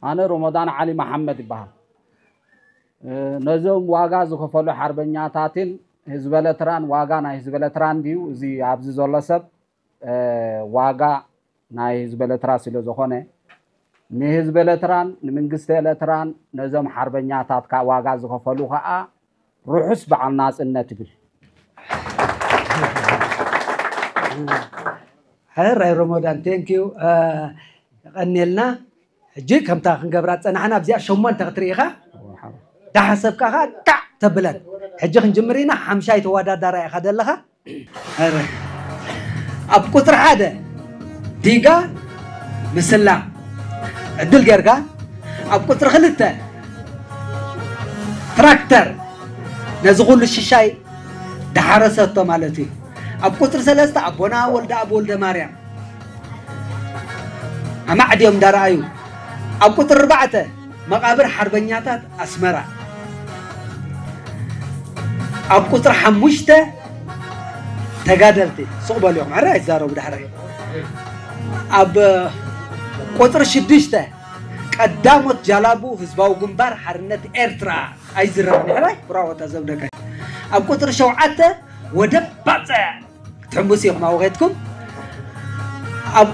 ኣነ ሮሞዳን ዓሊ መሓመድ ይበሃል። ነዞም ዋጋ ዝኸፈሉ ሓርበኛታትን ህዝበ ኤርትራን፣ ዋጋ ናይ ህዝበ ኤርትራን ድዩ እዚ ኣብዚ ዘሎ ሰብ ዋጋ ናይ ህዝበ ኤርትራ ስለ ዝኾነ፣ ንህዝበ ኤርትራን ንመንግስቲ ኤርትራን ነዞም ሓርበኛታት ከኣ ዋጋ ዝኸፈሉ ከኣ ርሑስ በዓል ናጽነት ይብል። ሕራይ ሮሞዳን፣ ቴንኪዩ። የቐንየልና። ሕጂ ከምታ ክንገብራ ዝጸናሕና ኣብዚኣ ሸሞንተ ክትርኢ ኢኻ። ዳሓሰብካ ኸዓ ጣዕ ተብለን። ሕጂ ክንጅምር ኢና። ሓምሻይ ተወዳዳራይ ኢኻ ዘለኻ። ሕራይ። ኣብ ቁጽሪ ሓደ ዲጋ ምስላ ዕድል ጌርካ፣ ኣብ ቁጽሪ ክልተ ትራክተር ነዚ ኩሉ ሽሻይ ድሓረሰቶ ማለት እዩ። ኣብ ቁፅሪ ሰለስተ ኣቦና ወልደኣብ ወልደማርያም ኣማዕድዮም እንዳረኣዩ፣ ኣብ ቁፅሪ ኣርባዕተ መቓብር ሓርበኛታት ኣስመራ፣ ኣብ ቁፅሪ ሓሙሽተ ተጋደልቲ፣ ስቕ በሉ ኢኹም፣ ሕራይ ኣይትዛረቡ ዳሕራይ። ኣብ ቁፅሪ ሽዱሽተ ቀዳሞት ጃላቡ ህዝባዊ ግንባር ሓርነት ኤርትራ ኣይዝረብን፣ ሕራይ ብራቮ እታ ዘብደቀ። ኣብ ቁፅሪ ሸውዓተ ወደብ ባፅዕ ክትሕምብሱ ኢኹም ኣብኡ ከድኩም። ኣብ